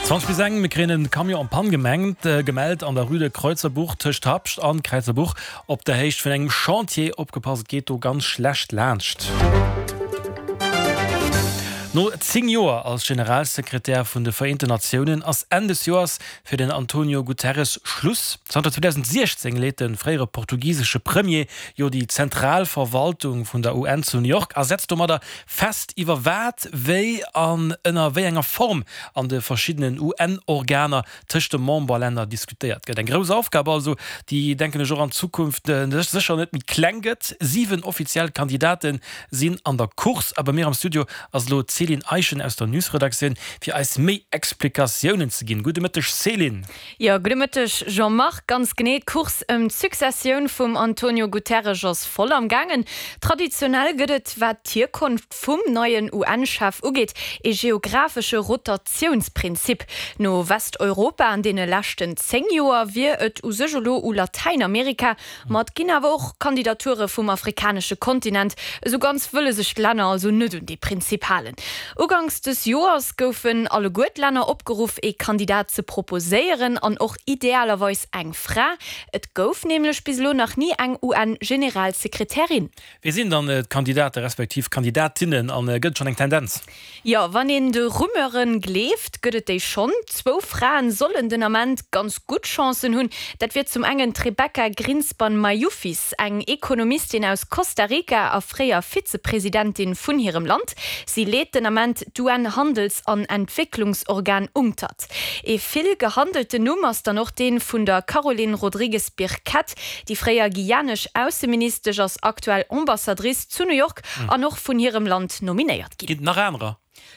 20 bis eng, Mir kréien en Camion en panne gemengt, gemellt an der Rue de Kreuzerbuch tëscht Habscht an Kräizerbuch op der Héicht vun engem Chantier. Opgepasst, et geet do ganz schlecht laanscht. No 10 Joer als Generalsekretär vun de Vereenten Natiounen ass Enn des Joers fir den Antonio Guterres Schluss. Zanter 2016 leet de fréiere portugisesche Premier jo déi zentral Verwaltung vun der UN zu New York a setzt domadder fest, iwwer wat, wéi an ënner wéi enger Form an de verschiddenen UN-Organer tëscht de Memberlänner diskutéiert gëtt. Eng grouss Aufgab also, déi, denken ech, och an Zukunft sécher net méi kleng gëtt. 7 offiziell Kandidate sinn an der Course a bei mir am Studio ass elo d'Céline Eischen aus der Newsredaktioun, fir eis méi Explikatiounen ze ginn. Gudde Mëtteg Céline. Jo, gudde Mëtteg Jean-Marc. Ganz genee, d'Course ëm d'Successioun vum Antonio Guterres ass voll am gaangen. Traditionell gëtt et, wat d'Hierkonft vum neien UN-Chef ugeet, ee geografesche Rotatiounsprinzip. No Westeuropa an deene leschten 10 Joer wier et u sech elo u Latäinamerika. Ma et ginn awer och Kandidature vum afrikanesche Kontinent. Esou ganz wëlle sech d'Länner also net un dee Prinzip halen. Uganks des Joers goufen alleguer d'Länner opgeruff, ee Kandidat ze proposéieren an och idealerweis eng Fra. Et gouf nämlech bis elo nach ni eng UN-Generalsekretärin. Wie sinn dann d'Kandidate respektiv Kandidatinnen an gëtt et schonn eng Tendenz? Jo, wann een de Rumeuren gleeft, gëtt et déi schonn. Zwou Fraen sollen den Ament ganz gutt Chancen hunn. Dat wier zum engen d'Rebeca Grynspan Mayufis, eng Ekonomistin aus Costa Rica a fréier Vizepresidentin vun hirem Land. Si leet den Ament d'UN-Handels an Entwécklungsorgan UNCTAD. Ee vill gehandelten Numm ass dann och dee vun der Caroline Rodrigues Birkett. Déi fréier guyanesch Ausseministesch ass aktuell Ambassadrice zu New York an och vun hirem Land nominéiert ginn. Ginn et nach anerer?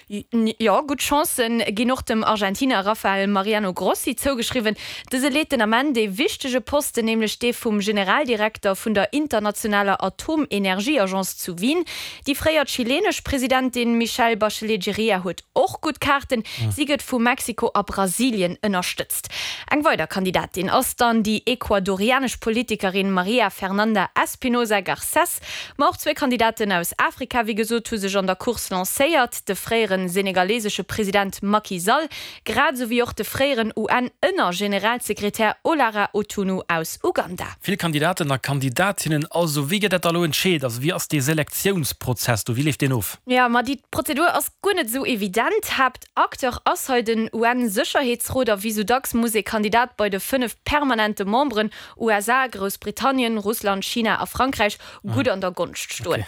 Jo, gutt Chancen ginn och dem Argentiner Rafael Mariano Grossi zougeschriwwen. Dëse leet den Ament ee wichtege Posten, nämlech dee vum Generaldirekter vun der internationaler Atomenergieagence zu Wien. Déi fréier chilenesch Presidentin Michelle Bachelet Jeria huet och gutt Kaarten. Si gëtt vu Mexiko a Brasilien ënnerstëtzt. Eng weider Kandidatin ass dann déi ecuadorianesch Politikerin Maria Fernanda Espinosa Garcés. Ma och zwee Kandidaten aus Afrika, wéi gesot, hu sech an der Course lancéiert, de fréiere senegalesesche President Macky Sall, grad esou wéi och de fréieren UN-Ënnergeneralsekretär Olara Otunu aus Uganda. Vill Kandidaten a Kandidatinnen also. Wéi gëtt dat da elo entscheet? Also wéi ass dee Selektiounsprozess do? Wéi leeft deen of? Jo, ma déi Prozedur ass guer net esou evident. Haaptacteur ass hei den UN-Sécherheetsrot a wéi sou dacks muss ee Kandidat bei de 5 permanente Memberen, USA, Groussbritannien, Russland, China a Frankräich, gutt an der Gonscht stoen.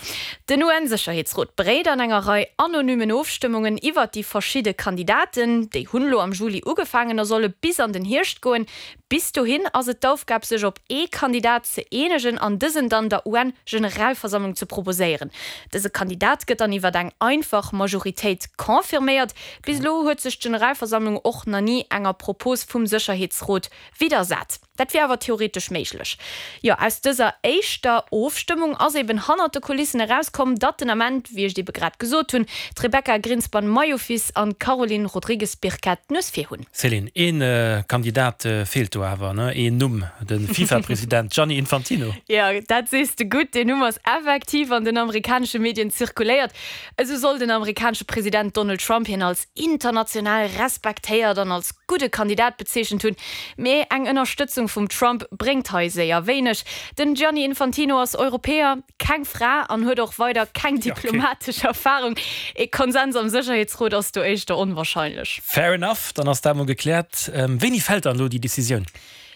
Den UN-Sécherheetsrot beréit an enger Rei anonymen Ofstëmmungen iwwert déi verschidde Kandidaten. Déi hunn elo am Juli ugefaangen a solle bis an den Hierscht goen. Bis dohin ass et d'Aufgab sech op ee Kandidat ze eenegen an dësen dann der UN-Generalversammlung ze proposéieren. Dëse Kandidat gëtt dann iwwert eng einfach Majoritéit confirméiert. Bis elo huet sech d'Generalversammlung och na ni enger Propos vum Sécherheetsrot widdersat. Dat wier awer theoretesch méiglech. Jo, aus dëser éischter Ofstëmmung ass eben hannert de Kulissen erauskomm, datt den Ament, wéi ech et ebe grad gesot hunn, d'Rebecca Grynspan-Mayufis an d'Caroline Rodrigues-Birkett d'Nues vir hunn. Céline, ee Kandidat feelt do awer, ne? Een Numm, de FIFA-President Gianni Infantino. Jo, dat sees de gutt. Deen Numm ass effektiv an den amerikanesche Medien zirkuléiert. Esou soll den amerikanesche President Donald Trump hien als international respektéiert an als gudde Kandidat bezeechent hunn. Mee eng Ënnerstëtzung vum Trump bréngt hei séier wéineg. Den Gianni Infantino ass Europäer, keng Fra an huet och weider keng diplomatesch Erfarung. Ee Konsens am Sécherheetsrot ass do éischter onwarscheinlech. Fair enough, dann ass dat mol gekläert. Wéini fält dann elo déi Decisioun?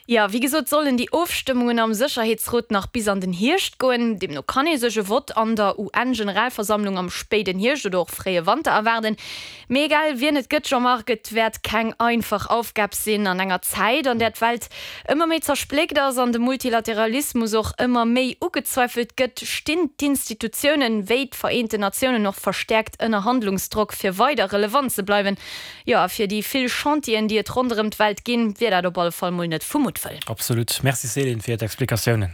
Jo, wéi gesot sollen déi Ofstëmmungen am Sécherheetsrot nach bis an den Hierscht goen. Deemno kann ee sech e Vott an der UN-Generalversammlung am spéiden Hierscht oder och fréie Wanter erwaarden. Mee egal wien et gëtt, Jean-Marc, et wäert keng einfach Aufgab sinn. An enger Zäit, an där d'Welt ëmmer méi zerspléckt ass an de Multilateralismus och ëmmer méi ugezweifelt gëtt, stinn d'Institutiounen, wéi d'Vereenten Natiounen, och verstäerkt ënner Handlungsdrock, fir weider relevant ze bleiwen. Jo, a fir déi vill Chantieren, déi et ronderëm d'Welt ginn, wier dat op alle Fall mol net vu Muttwëll. Absolut. Merci Céline fir d'Explikatiounen.